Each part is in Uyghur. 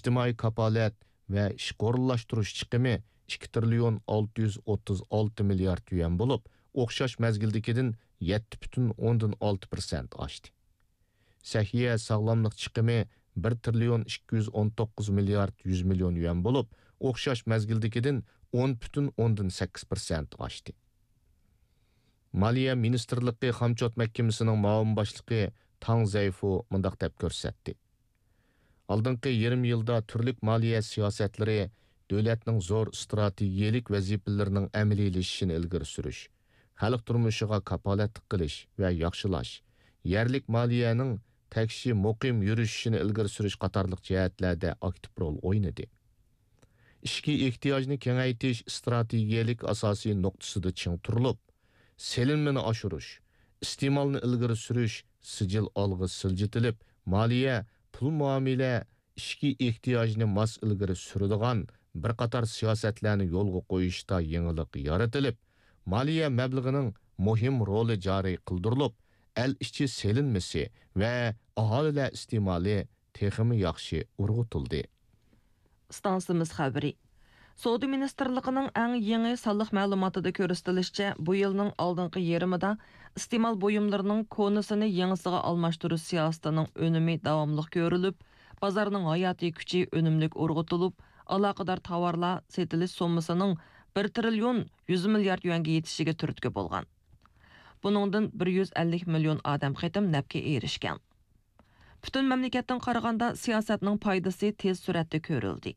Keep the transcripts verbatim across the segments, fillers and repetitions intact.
ئىجتىمائىي كاپالەت ۋە ئىشقا ئورۇنلاشتۇرۇش چىقىمى ئىككى تىرىليون ئالتە يۈز ئوتتۇز ئالتە مىليارد يۈەن بولۇپ، ئوخشاش مەزگىلدىكىدىن يەتتە پۈتۈن ئوندىن ئالتە پىرسەنت ئاشتى. سەھىيە ساغلاملىق چىقىمى بىر تىرىليون ئىككى يۈز ئون توققۇز مىليارد يۈز مىليون يۈەن بولۇپ، ئوخشاش مەزگىلدىكىدىن ئون پۈتۈن ئوندىن سەككىز پىرسەنت ئاشتى. مالىيە مىنىستىرلىقى خامچوت مەھكىمىسىنىڭ مۇئاۋىن باشلىقى تاڭ زەيفۇ مۇنداق دەپ كۆرسەتتى: ئالدىنقى يېرىم يىلدا تۈرلۈك مالىيە سىياسەتلىرى دۆلەتنىڭ زور ئىستراتېگىيەلىك ۋەزىپىلىرىنىڭ ئەمەلىيلىشىشىنى ئىلگىرى سۈرۈش، خەلق تۇرمۇشىغا كاپالەتلىك قىلىش ۋە ياخشىلاش، يەرلىك مالىيەنىڭ تەكشى مۇقىم يۈرۈشۈشىنى ئىلگىرى سۈرۈش قاتارلىق جەھەتلەردە ئاكتىپ رول ئوينىدى. ئىچكى ئېھتىياجنى كېڭەيتىش ئىستراتېگىيەلىك ئاساسىي نۇقتىسىدا چىڭ تۇرۇلۇپ، سېلىنمىنى ئاشۇرۇش، ئىستېمالنى ئىلگىرى سۈرۈش سىجىل ئالغا سىلجىتىلىپ، مالىيە، پۇل مۇئامىلە، ئىچكى ئېھتىياجنى ماس ئىلگىرى سۈرىدىغان بىر قاتار سىياسەتلەرنى يولغا قويۇشتا يېڭىلىق يارىتىلىپ، مالىيە مەبلىغىنىڭ مۇھىم رولى جارى قىلدۇرۇلۇپ، ئەل ئىچى سېلىنمىسى ۋە ئاھالىلەر ئىستېمالى تېخىمۇ ياخشى ئۇرغۇتۇلدى. ئىستانسىمىز خەۋىرى. سودا مىنىستىرلىقىنىڭ ئەڭ يېڭى سانلىق مەلۇماتىدا كۆرسىتىلىشىچە، بۇ يىلنىڭ ئالدىنقى يېرىمىدا ئىستېمال بۇيۇملىرىنىڭ كونىسىنى يېڭىسىغا ئالماشتۇرۇش سىياسىتىنىڭ ئۈنۈمى داۋاملىق كۆرۈلۈپ، بازارنىڭ ھاياتىي كۈچى ئۈنۈملۈك ئۇرغۇتۇلۇپ، ئالاقىدار تاۋارلار سېتىلىش سوممىسىنىڭ بىر تىرىليون يۈز مىليارد يۈەنگە يېتىشىگە تۈرتكە بولغان. بۇنىڭدىن بىر يۈز ئەللىك مىليون ئادەم قېتىم نەپكە ئېرىشكەن. پۈتۈن مەملىكەتتىن قارىغاندا، سىياسەتنىڭ پايدىسى تېز سۈرئەتتە كۆرۈلدى.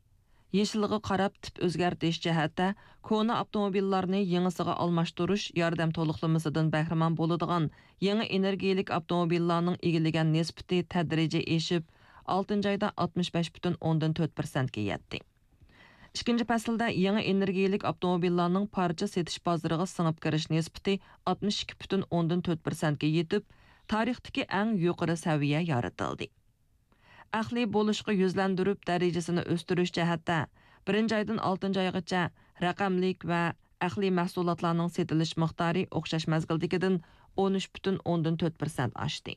يېشىللىققا قاراپ تىپ ئۆزگەرتىش جەھەتتە، كونا ئاپتوموبىللارنى يېڭىسىغا ئالماشتۇرۇش ياردەم تولۇقلىمىسىدىن بەھرىمەن بولىدىغان يېڭى ئېنېرگىيەلىك ئاپتوموبىللارنىڭ ئىگىلىگەن نىسبىتى تەدرىجىي ئېشىپ، ئالتىنچى ئايدا ئاتمىش بەش پۈتۈن ئوندىن تۆت پىرسەنتكە يەتتى. ئىككىنچى پەسىلدە يېڭى ئېنېرگىيەلىك ئاپتوموبىللارنىڭ پارچە سېتىش بازىرىغا سىڭىپ كىرىش نىسبىتى ئاتمىش ئىككى پۈتۈن ئوندىن تۆت پىرسەنتكە يېتىپ، تارىختىكى ئەڭ يۇقىرى سەۋىيە يارىتىلدى. ئەقلىي بولۇشقا يۈزلەندۈرۈپ دەرىجىسىنى ئۆستۈرۈش جەھەتتە، بىرىنچى ئايدىن ئالتىنچى ئايغىچە رەقەملىك ۋە ئەقلىي مەھسۇلاتلارنىڭ سېتىلىش مىقدارى ئوخشاش مەزگىلدىكىدىن ئون ئۈچ پۈتۈن ئوندىن تۆت پىرسەنت ئاشتى.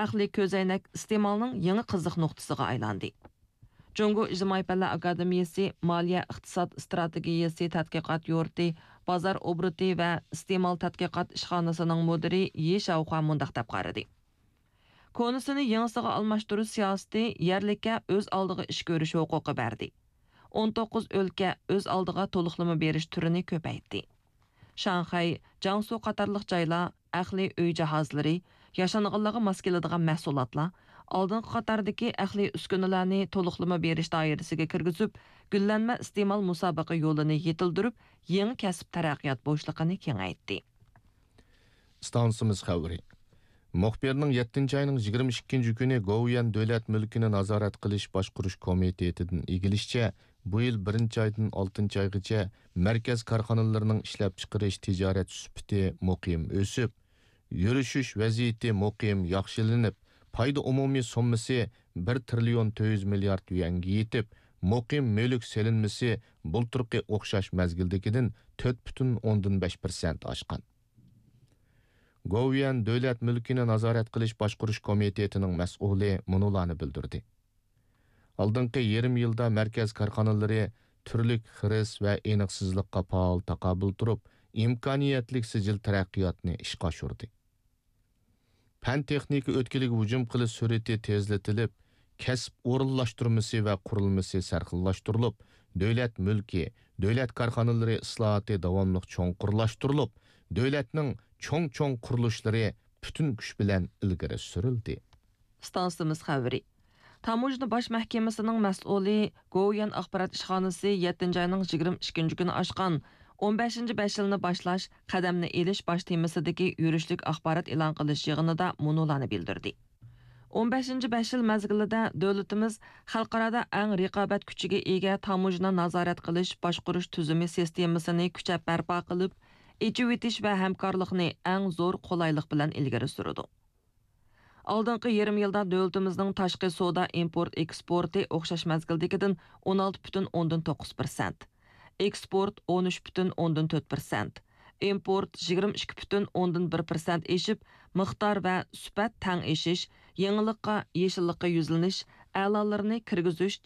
ئەقلىي كۆزەينەك ئىستېمالنىڭ يېڭى قىزىق نۇقتىسىغا ئايلاندى. جۇڭگو ئىجتىمائىي پەنلەر ئاكادېمىيەسى مالىيە ئىقتىساد ئىستراتېگىيەسى تەتقىقات يۇرتى بازار ئوبوروتى ۋە ئىستېمال تەتقىقات ئىشخانىسىنىڭ مۇدىرى يى شاۋخۇا مۇنداق دەپ قارىدى: كونىسىنى يېڭىسىغا ئالماشتۇرۇش سىياسىتى يەرلىككە ئۆز ئالدىغا ئىش كۆرۈش ھوقۇقى بەردى. ئون توققۇز ئۆلكە ئۆز ئالدىغا تولۇقلىما بېرىش تۈرىنى كۆپەيتتى. شاڭخەي، جياڭسۇ قاتارلىق جايلار ئەقلىي ئۆي جاھازلىرى، ياشانغانلارغا ماس كېلىدىغان مەھسۇلاتلار، ئالدىنقى قاتاردىكى ئەقلىي ئۈسكۈنىلەرنى تولۇقلىما بېرىش دائىرىسىگە كىرگۈزۈپ، گۈللەنمە ئىستېمال مۇسابىقە يولىنى يېتىلدۈرۈپ، يېڭى كەسىپ تەرەققىيات بوشلۇقىنى كېڭەيتتى. ئىستانسىمىز خەۋىرى. مۇخبىرنىڭ يەتتىنچى ئاينىڭ يىگىرمە ئىككىنچى كۈنى گوۋۇيۈەن دۆلەت مۈلكىنى نازارەت قىلىش باشقۇرۇش كومىتېتىدىن ئىگىلىشىچە، بۇ يىل بىرىنچى ئايدىن ئالتىنچى ئايغىچە مەركەز كارخانىلىرىنىڭ ئىشلەپچىقىرىش تىجارەت سۈپىتى مۇقىم ئۆسۈپ، يۈرۈشۈش ۋەزىيىتى مۇقىم ياخشىلىنىپ، پايدا ئومۇمىي سوممىسى بىر تىرىليون تۆت يۈز مىليارد يۈەنگە يېتىپ، مۇقىم مۈلۈك سېلىنمىسى بۇلتۇرقى ئوخشاش مەزگىلدىكىدىن تۆت پۈتۈن ئوندىن بەش پىرسەنت ئاشقان. گوۋۇيۈەن دۆلەت مۈلكىنى نازارەت قىلىش باشقۇرۇش كومىتېتىنىڭ مەسئۇلى مۇنۇلارنى بىلدۈردى: ئالدىنقى يېرىم يىلدا مەركەز كارخانىلىرى تۈرلۈك خىرىس ۋە ئېنىقسىزلىققا پائال تاقابىل تۇرۇپ، ئىمكانىيەتلىك سىجىل تەرەققىياتنى ئىشقا ئاشۇردى. پەن تېخنىكا ئۆتكىلىگە ھۇجۇم قىلىش سۈرئىتى تېزلىتىلىپ، كەسىپ ئورۇنلاشتۇرمىسى ۋە قۇرۇلمىسى سەرخىللاشتۇرۇلۇپ، دۆلەت مۈلكى، دۆلەت كارخانىلىرى ئىسلاھاتى داۋاملىق چوڭقۇرلاشتۇرۇلۇپ، دۆلەتنىڭ چوڭ-چوڭ قۇرۇلۇشلىرى پۈتۈن كۈچ بىلەن ئىلگىرى سۈرۈلدى. ئىستانسىمىز خەۋىرى. تاموژنا باش مەھكىمىسىنىڭ مەسئۇلى، گوۋۇيۈەن ئاخبارات ئىشخانىسى يەتتىنچى ئاينىڭ يىگىرمە ئىككىنچى كۈنى ئاچقان ئون بەشىنچى بەش يىلنى باشلاش، قەدەمنى ئېلىش باش تېمىسىدىكى يۈرۈشلۈك ئاخبارات ئېلان قىلىش يىغىنىدا مۇنۇلارنى بىلدۈردى: ئون بەشىنچى بەش يىل مەزگىلىدە دۆلىتىمىز خەلقئارادا ئەڭ رىقابەت كۈچىگە ئىگە تاموژنا نازارەت قىلىش باشقۇرۇش تۈزۈمى سىستېمىسىنى كۈچەپ بەرپا قىلىپ، ئېچىۋېتىش ۋە ھەمكارلىقنى ئەڭ زور قولايلىق بىلەن ئىلگىرى سۈرىدۇ. ئالدىنقى يېرىم يىلدا دۆلىتىمىزنىڭ تاشقى سودا ئىمپورت ئېكسپورتى ئوخشاش مەزگىلدىكىدىن ئون ئالتە پۈتۈن ئوندىن توققۇز پىرسەنت، ئېكسپورت ئون ئۈچ پۈتۈن ئوندىن تۆت پىرسەنت، ئىمپورت يىگىرمە ئىككى پۈتۈن ئوندىن بىر پىرسەنت ئېشىپ، مىقدار ۋە سۈپەت تەڭ ئېشىش، يېڭىلىققا، يېشىللىققا يۈزلىنىش، ئەلالىرىنى كىرگۈزۈش،